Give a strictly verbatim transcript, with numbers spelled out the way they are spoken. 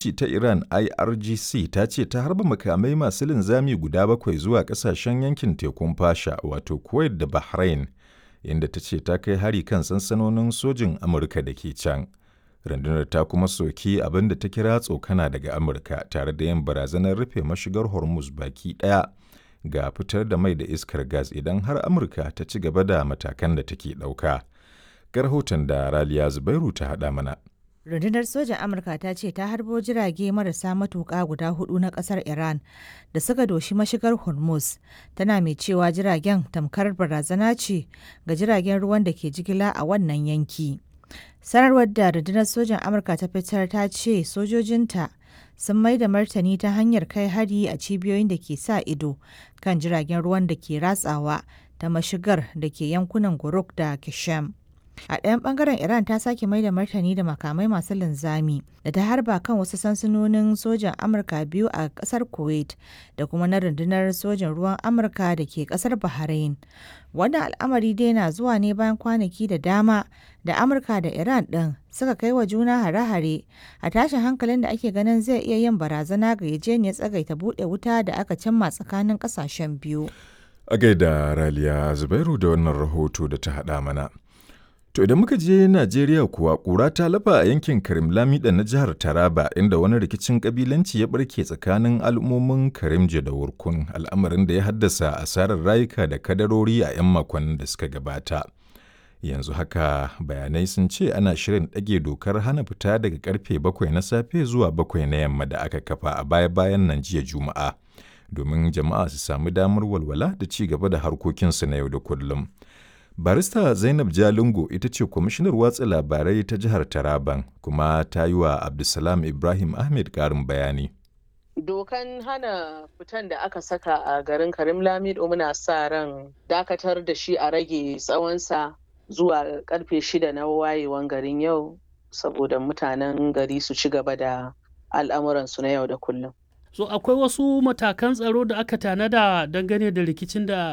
Ta Iran I R G C ta ce ta harba makamai masu linzami guda bakwai zuwa ƙasashen yankin tekun Fasha, wato Kuwait da Bahrain, inda ta ce ta kai hari kan sansanonin sojin Amurka da ke can. Rundunar ta kuma soki abin da ta kira tsokana daga Amurka tare da yin barazanar rufe mashigar Hormuz baki ɗaya ga fitar da mai da iskar gas idan har Amurka ta ci gaba da matakan da take ɗauka. Ga rahoton da Raliya Zubairu ta haɗa mana. Rundunar sojan Amurka ta ce ta harbo jirage marasa matuƙa guda hudu na ƙasar Iran da suka doshi mashigar Hormuz, tana mai cewa jiragen tamkar barazana ce ga jiragen ruwan da ke jigila a wannan yanki. Sanarwar da rundunar sojan Amurka ta fitar ta ce sojojinta sun mai da martani ta hanyar kai hari a cibiyoyin da ke sa ido kan jiragen ruwan da ke ratsawa ta mashigar da ke yankunan Guruk da Kishem. A ɗayan ɓangaren, Iran ta sake mai da martani da makamai masu linzami da ta harba kan wasu sansanonin sojan Amurka biyu a ƙasar Kuwait da kuma na rundunar sojan ruwan Amurka da ke ƙasar Bahrain. Wannan al'amari dai na zuwa ne bayan kwanaki da dama da Amurka da Iran ɗin suka kai wa juna hare-hare a tashin hankalin da ake ganin zai iya yin barazana ga yarjejeniyar tsagaita buɗe wuta da aka cimma tsakanin ƙasashen biyu. A gaida Raliya Zubairu da wannan rahoto da ta haɗa mana. To idan muka je Najeriya kuwa, ƙura ta lafa a yankin Karim Lamida na jihar Taraba, inda wani rikicin kabilanci ya barke tsakanin al'ummomin Karimje da Wurkun, al'amarin da ya haddasa asarar rayuka da kadarori a 'yan makonnin da suka gabata. Yanzu haka bayanai sun ce ana shirin ɗage dokar hana fita daga karfe bakwai na safe zuwa bakwai na yamma da aka kafa a baya-bayan nan jiya Juma'a, domin jama'a su sami damar walwala da ci gaba da harkokinsu na yau da kullum. Barista Zainab Jalingo ita ce kwamishinar watsa labarai ta jihar Taraban, kuma ta yi wa Abdulsalam Ibrahim Ahmed ƙarin bayani. Dokan hana fitan da aka saka a garin Karim Lamido, muna sa ran dakatar da shi a rage tsawonsa zuwa karfe shida na wayewan garin yau, saboda mutanen gari su ci gaba da al'amuransu na yau da kullum. So akwai wasu matakan tsaro da aka tanada dangane da rikicin da